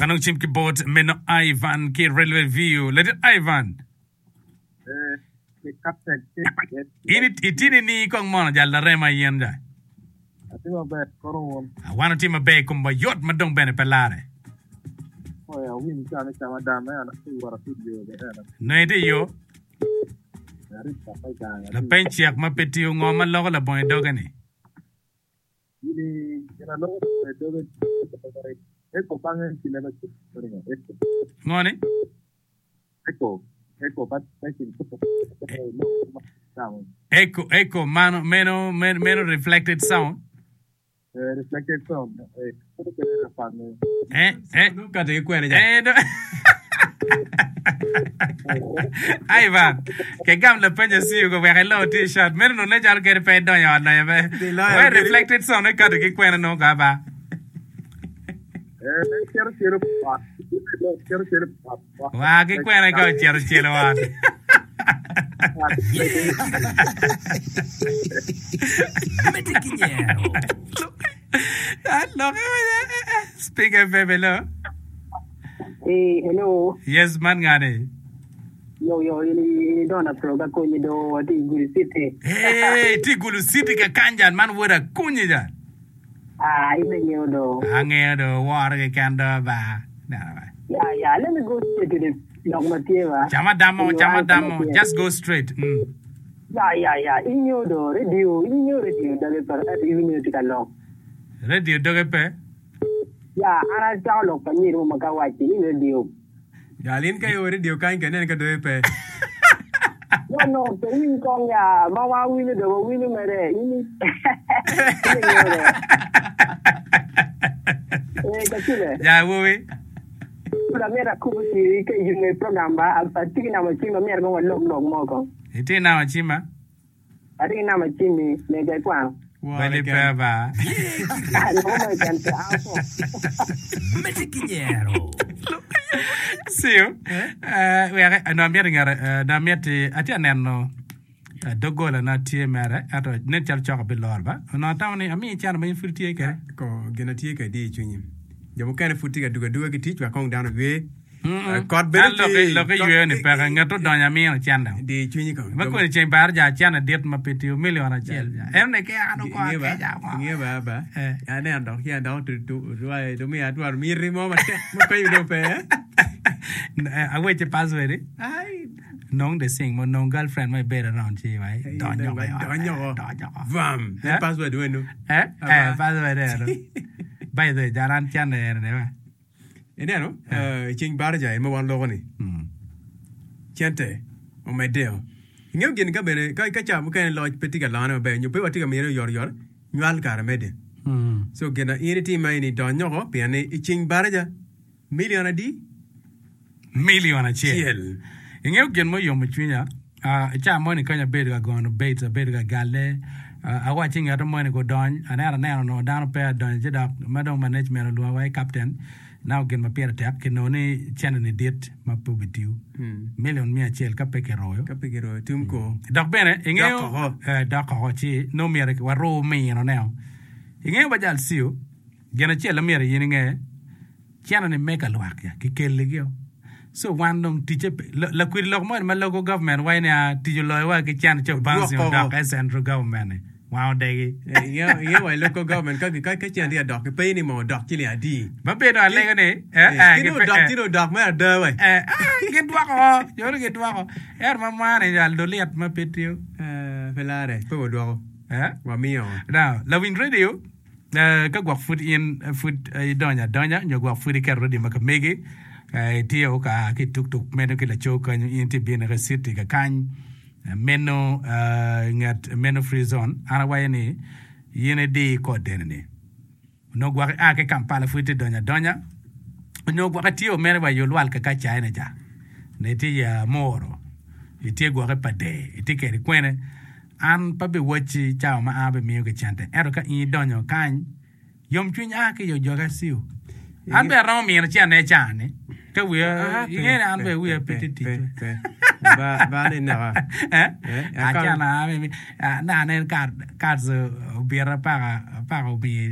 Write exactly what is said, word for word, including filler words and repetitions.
anong cim ki bot meno Ivan ki Railway View. Ladit Ivan. Eh, ki captain ki In it- itini ni kong mono jal larema yen ja. Atye maber kono wun. Wan otye maber kom wa yot ma dong bene pe lare. Oya awinyo ca ni cama dam me an atye wot atye yo be ena. Nongo itye i yo. Arip papa i gang. Lapeny cek ma pe tiyo ngo ma loko labongo i doge ni. Gini gin aloko i doge echo bange ki leba echo. Ngo ni? Echo echo ba echo Echo echo mano meno meno meno reflected sound. Eh, reflected sound. Eh, Eh eh Kati ki kwene ja. Eh, do- Ivan, ke gam lapenyo siyo ko wek ilo t-shirt. Meno nongo ne calo kadi pe idonyo ot lonyo pe. Iloyo We kadi. reflected sound ekato ki kwene nongo ka ba. Eh, cero cero ot. Cero cero ot. Wa ki kwene ka ocito celo ot. Medde ki nyero. Lokke Speak FM, hello. Hey, hello. Yes, man ngani. Yo, yo, ini, ini Donna Pro ka konyi do wati Gulu City. Hey, ti Gulu City ka kanjan man woda kunyi jan. Ah, ine ngeo do. Angeyo do woro keken do ba. Neno ba. Yeah, yeah, let me go straight to the lok ma tye ba. Cama damo, Inyo cama answer ma damo. tye. Just go straight. Mm. Yeah, yeah, yeah. Inyo do radio, inyo radio doge par ati inyo tika lok. Radio doge pe. Yeah, ana chako lok pa nyiri mo maka wachi in radio. Jal in ka iwo radio kany ka inen ka doge pe. No, no, pe winy kong ya, ma wa winyo do, wa winyo mere. Ini, ine ngeo do. Eh, kachule. Ya wuwi. Pud amyero akubo ci ka iyume program ba, atye ki namba cim amyero kong walok lok moko. Iti nama cima. Atye ki namba cimmi mega ikwano. Wore Bali pe ken. ba. Ye ki Ah, loko mo keken pe ako. Medde ki nyero. See you. Eh, wek no amyero ngere eh, no amyeti atye aneno eh, doggola na tye mere ento nen calo cok abiloro ba. Onongo atamo ni amiyi cene ma in pud itye kwede. Ko gin atye kwede i cwinyi. Jo mukene pud tye ka dugo aduga ki tic wek kong dano oywe. Mm-mm. Eh, Kot bene An lok tye. lok iyweyo ni peke nget odonyo amino cene. Di cwinyi kong. Ma Jo- koni ceng bar ja cene dit ma pe tiyo milion acel. ja. En ni ke an oko Inge ba, akeca ko. inge ba ba. Eh. Aneno dok ki dok tu tu tu tu miya atwaro miti mo matek ma konyo dong pe. eh? Eh, Aweche password eh? Ai. Nong the sing mo nong girlfriend mo ibedo around ci wai donyo ko i ot. Donyo ko. Donyo ko. Vam. Eh? En password wenu. Eh? Eh, Aba. password ero. By the way, jaran cene ero ne ba. Ineno, eh, ceng baraja en ma wan loko ni. Mm. Cente omedeo. Ingeyo gin ka bene ka ka ca mukene loc pe tye ka lone maber nyo pe watye ka mine oyotoyot nywal kare medde. Mm. So gin na in itimo eni dony oko pien ni i ceng baraja milion adi? Milion acel. Cel. Ingeyo gin mo yomo cwinya. Uh, ca moni kany abedo ka gono baits, abedo ka galle. Uh, awaci ngeto moni gudony, aneno aneno onongo dano pe adonyo ci dok ma dong management olwonga wa i captain. Now gin ma pire tek kinongo ni cene ni dit ma pe obitiyo. Milion mia acel ka pe kiroyo. Ka pe kiroyo tum ko. Dok bene ingeyo Dok oko. eh, dok oko ci nongo myero waru mino neo. Ingeyo ba jal siyo gin acel ma myero in inge cene ni mega lwak ya kikeligi o. So wan dong ticce pe la- lakwidi lok moni ma local government waco ni a tic oloyo wa ki cene ci obouncing Odwoko. odok e central government ni wan odegi. Eh, Ingeyo ingeyo wa i local government ka ka ka cene tye ka dok ki ni mo odok ciling adi. Babedo alego ni eh, Eh, eh, Kino gipe- odok eh, cino odok me ada we. eh, ah, gidwoko joni gidwoko ento ma mani jal doliet ma pe tiyo. Eh, pe lare pe wadwoko. Eh? Wamiyo. Now, lawiny radio, eh, ka gwok pud in eh, pud eh, idonyo adonya nyo gwok pud iketo radio ma ka megi eh, itye ka ki tuktuk meno ki laco kanyo in tye bino ka city ka kany eh, meno eh, nget meno free zone an awaco ni in idi kod deni onongo gwok ia ki Kampala pud itye donyo adonya onyo gwok itye mere wa i olwal kaka China ja ne itye i Amoro itye gwoke pa dee itye kede kwene an pa biwacci cawa ma an abimiyo ki cente ento ka in idonyo kany yomcwiny a ki i ojoga ciu an bene aromo mino cene i caa-ni ka wiya Ah, pe, inge ni an pe, bene wiya pe, pe tye pe, tic pe. Ba ba ni naka. Eh? Eh, akam- Acana na anen kad kad obita paka paka omiyo